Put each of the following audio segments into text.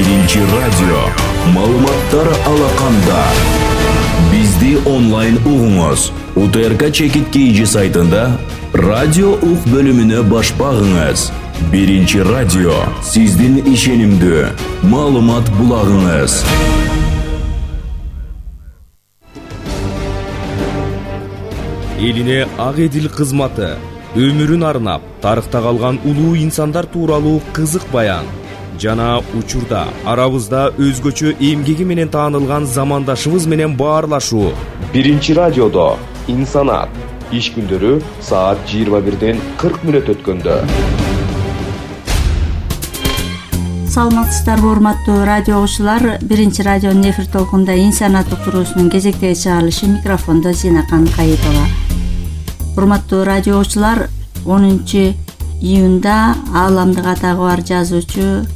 Биринчи радио. Маалыматтар алаканда. Бизди онлайн угуңуз. УТРК Чекит KG сайтында радио ук бөлүмүнө баш багыңыз. Биринчи радио. Сиздин ишенимдүү маалымат булагыңыз. Элине ак эдил кызматы, өмүрүн арнап, тарыхта калган улуу инсандар тууралуу кызык баян жана учурда арабызда өзгөчө эмгеги менен таанылган замандашыбыз менен баарлашуу. Биринчи радиодо инсанат иш күндөрү саат 21:40 өткөндө. Саламатсыздарбы урматтуу радио угуучулар, Биринчи радионун эфир толкунда инсанат уктуруусунун кезектеги чыгарылышы, микрофондо Зинакан Кайытова. Урматтуу радио угуучулар, 10 июнда ааламдык атагы бар жазуучу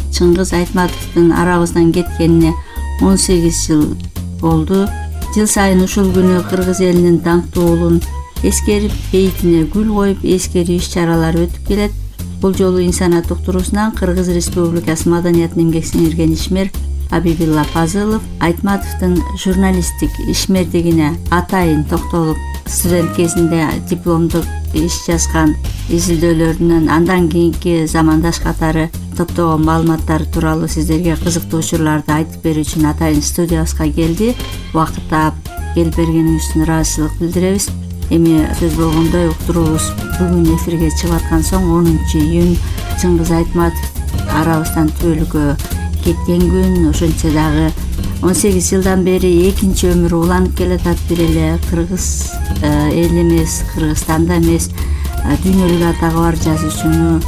Чыңгыз Айтматовдун арабыздан кеткенине 18 жыл болду. Жыл сайын ушул күнү кыргыз элинин даңктуу уулун эскерип, бейитине гүл коюп, эскерүү иш-чаралары өтүп келет. Бул жолу инсанат уктуруусунан Кыргыз Республикасы Маданият эмгек сиңирген ишмер Абибилла Пазылов Айтматовдун журналисттик ишмердигине атайын токтолуп, студент кезинде дипломдук иш жазган изилдөөлөрүнөн андан кийинки замандаш катары топтогон маалыматтары тууралуу сиздерге кызыктуу учурларды айтып берүү үчүн атайын студиябызга келди. Убакыт таап келип бергениңиз үчүн ыраазычылык билдиребиз. Эми сөз болгондой, уктуруубуз бүгүн эфирге чыгып аткан соң 10 июнь Чыңгыз Айтматов арабыздан түбөлүккө кеткен күн. Ошончо дагы 18 жылдан бери экинчи өмүрү уланып келатат. Бир эле кыргыз эл эмес, Кыргызстанда эмес, дүйнөлүк атагы бар жазуучуну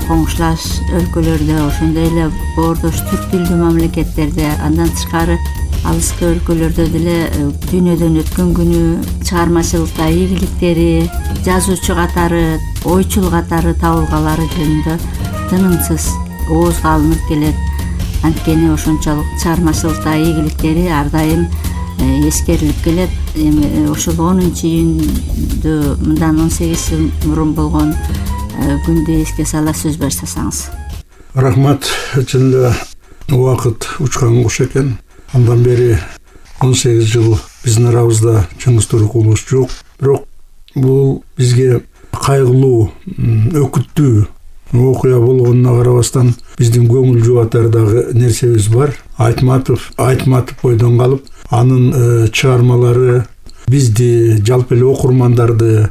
коңшулаш өлкөлөрдө, ошондой эле боордош түрк тилдүү мамлекеттерде, андан тышкары алыскы өлкөлөрдө деле дүйнөдөн өткөн күнү, чыгармачылыкта ийгиликтери, жазуучу катары, ойчул катары табылгалары жөнүндө тынымсыз оозго алынып келет. Анткени ошончолук чыгармачылыкта ийгиликтери ар дайым эскерилип келет. Эми ошол 10 июндү мындан 18 жыл мурун болгон күндү эске сала сөз баштасаңыз. Рахмат. Чын эле убакыт учкан куш экен. Андан бери 18 жыл биздин арабызда Чыңгыз Турукулович жок. Бирок бул бизге кайгылуу, өкүттүү окуя болгонуна карабастан биздин көңүл жубатар дагы нерсебиз бар. Айтматов бойдон калып, анын чыгармалары бизди, жалпы эле окурмандарды,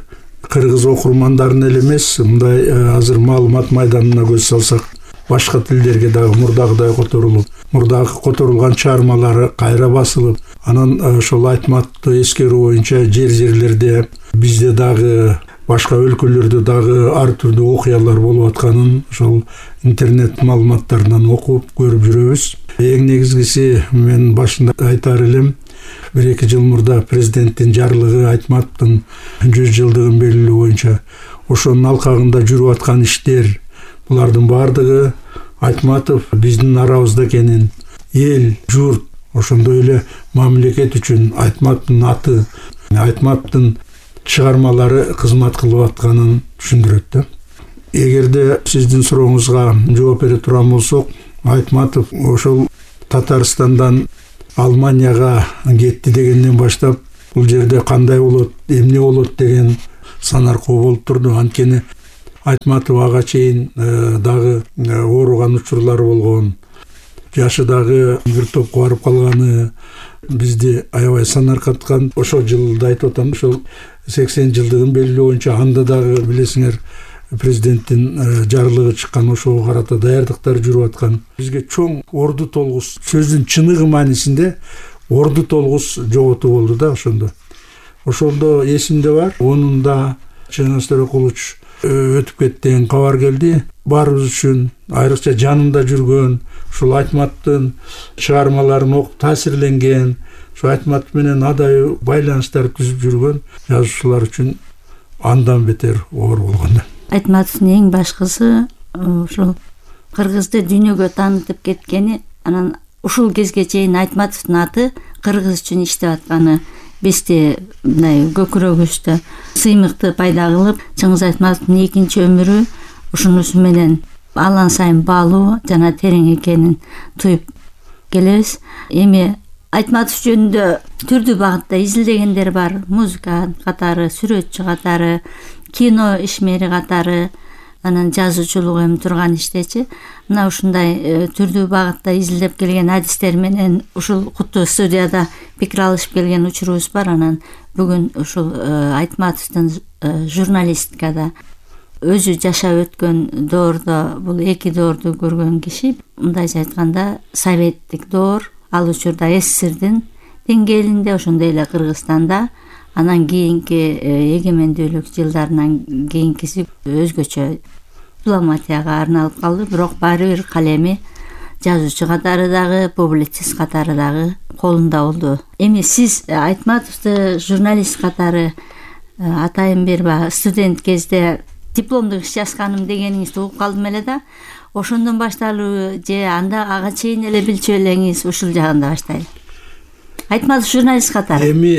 кыргыз окурмандарын эле эмес, мындай азыр маалымат майданына көз салсак, башка тилдерге дагы мурдагыдай которулган чыгармалары кайра басылып, анан ошол Айтматовду эскерүү боюнча жерлерде бизде дагы башка өлкөлөрдө дагы ар түрдүү окуялар болуп атканын ошол интернет маалыматтарынан окуп көрүп жүрөбүз. Эң негизгиси мен башында айтар элем, 1-2 жыл мурда президенттин жарлыгы Айтматовдун 100 жылдыгын белгилөө боюнча ошонун алкагында жүрүп аткан иштер, булардын баардыгы Айтматов биздин арабызда экенин, эл, журт, ошондой эле мамлекет үчүн Айтматовдун аты, Айтматовдун чыгармалары кызмат кылып атканын түшүндүрөт да. Эгерде сиздин сурооңузга жооп бере турган болсок, Айтматов ошол Татарстандан Алманияга кетти дегенден баштап бул жерде кандай болот, эмне болот деген санаркоо болуп турду. Анткени Айтматов ага чейин дагы ооруган учурлары болгон, жашы дагы бир топко барып калганы бизди аябай санаркаткан. Ошол жылда айтып атам, ошол 80 жылдыгын белгилөө боюнча анда дагы билесиңер президенттин жарлыгы чыккан, ошого карата даярдыктар жүрүп аткан. Бизге чоң орду толгус, сөздүн чыныгы маанисинде орду толгус жоготуу болду да ошондо. Ошондо эсимде бар, онунда Чыңгыз Турукулович өтүп кетти деген кабар келди. Баарыбыз үчүн, айрыкча жанында жүргөн, ушул Айтматовдун чыгармаларын окуп таасирленген, ушул Айтматов менен адайы байланыштар түзүп жүргөн жазуучулар үчүн андан бетер оор болгон. Айтматовдун эң башкысы ушул кыргызды дүйнөгө таанытып кеткени, анан ушул кезге чейин Айтматовдун аты кыргыз үчүн иштеп атканы бизде мындай көкүрөгүбүздө сыймыкты пайда кылып, Чыңгыз Айтматовдун экинчи өмүрү ушунусу менен алан сайын баалуу жана терең экенин туюп келебиз. Эми Айтматов жөнүндө түрдүү багытта изилдегендер бар. Музыка катары, сүрөтчү катары, кино ишмери катары, анан жазуучулук эми турган иштечи. Мына ушундай түрдүү багытта изилдеп келген адистер менен ушул куттуу студияда пикир алышып келген учурубуз бар. Анан бүгүн ушул Айтматовдун журналистикада өзү жашап өткөн доордо, бул эки доорду көргөн киши. Мындайча айтканда советтик доор, ал учурда СССРдин деңгээлинде, ошондой эле Кыргызстанда, анан кийинки эгемендүүлүк жылдарынан кийинкиси өзгөчө дипломатияга арналып калды. Бирок баары бир калеми жазуучу катары дагы, публицист катары дагы колунда болду. Эми сиз Айтматовду журналист катары атайын бербай студент кезде дипломдук иш жазганым дегениңизди угуп калдым эле да. Ошондон башталуу же анда ага чейин эле билчү элеңиз, ушул жагында баштайлы. Айтматов журналист катары. Эми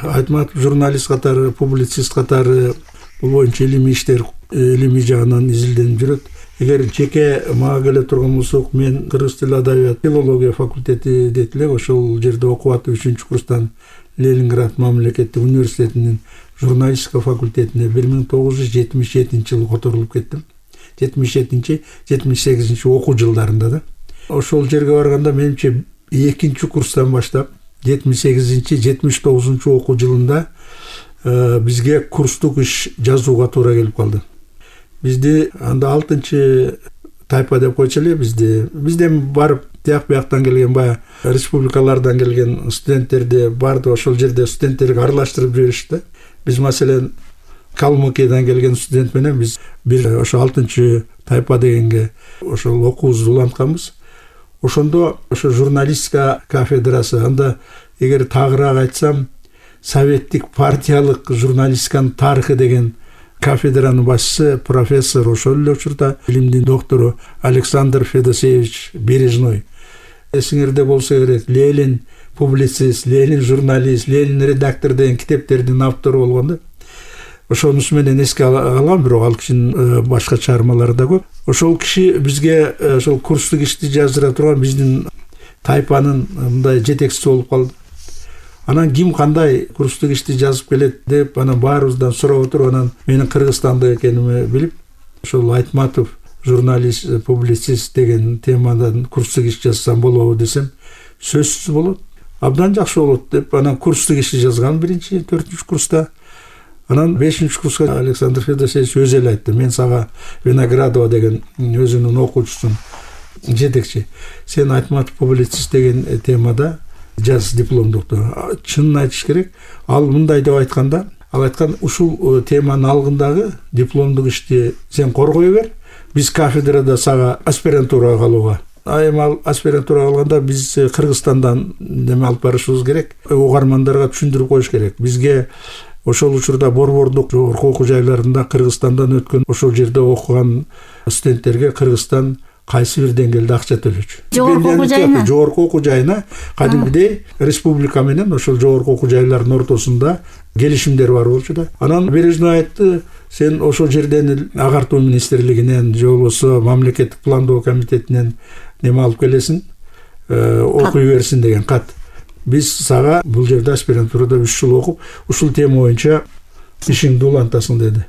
Айтматов журналист катары, публицист катары бул боюнча илимий иштер, илимий жагынан изилденип жүрөт. Эгер жеке мага келе турган болсок, мен кыргыз тили адабият филология факультети дейт элек, ошол жерде окуп атып 3-курстан Ленинград мамлекеттик университетинин журналистика факультетине 1977-жылы которулуп кеттим. 77-78 окуу жылдарында да. Ошол жерге барганда менимче 2-курстан баштап 78-79 окуу жылында бизге курстук иш жазууга туура келип калды. Бизди анда 6-тайпа деп койчу эле. Бизден барып тияк-бияктан келген, баягы республикалардан келген студенттерди барды ошол жерде студенттерге аралаштырып жиберишти. Биз маселен Калмыкиядан келген студент менен биз бир ошо 6-тайпа дегенге ошол окуубузду улантканбыз. Ошондо ошо журналистика кафедрасы, анда эгер тагыраак айтсам, советтик партиялык журналистиканын тарыхы деген кафедранын башчысы профессор, ошол эле учурда илимдин доктору Александр Федосеевич Бережной. Эсиңерде болсо керек, Ленин публицист, Ленин журналист, Ленин редактор деген китептердин автору болгон да. Ошонусу менен эске алам, бирок ал кишинин башка чыгармалары да көп. Ошол киши бизге ошол курстук ишти жаздыра турган биздин тайпанын мындай жетекчиси болуп калды. Анан ким кандай курстук ишти жазып келет деп анан баарыбыздан сурап отуруп, анан менин Кыргызстандык экенимди билип, ошол Айтматов журналист, публицист деген темадан курстук иш жазсам болобу десем, сөзсүз болот, абдан жакшы болот деп анан курстук ишти жазган 1-4-курста. Анан 5-курска Александр Федосеевич өзү эле айтты: "Мен сага Виноградова деген өзүнүн окуучусун жетекчи, сен Айтматов публицист деген темада жаз дипломдукту." Чынын айтыш керек, ал мындай деп айтканда, ал айткан: "Ушул теманын алгындагы дипломдук ишти сен коргой бер, биз кафедрада сага аспирантурага калууга." Эми ал аспирантурага калганда биз Кыргызстандан неме алып барышыбыз керек, угармандарга түшүндүрүп коюш керек. Бизге ошол учурда борбордук жогорку окуу жайларында Кыргызстандан өткөн, ошол жерде окуган студенттерге Кыргызстан кайсы бир деңгээлде акча төлөчү. Жогорку окуу жайына кадимгидей республика менен ошол жогорку окуу жайлардын ортосунда келишимдер бар болчу да. Анан Бережной айтты: "Сен ошол жерден агартуу министрлигинен же болбосо мамлекеттик пландоо комитетинен неме алып келесиң, окуй берсин" деген кат. Биз сага бул жерде аспирантурада 3 жыл окуп, ушул тема боюнча ишиңди улантасың деди.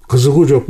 Кызыгуу жок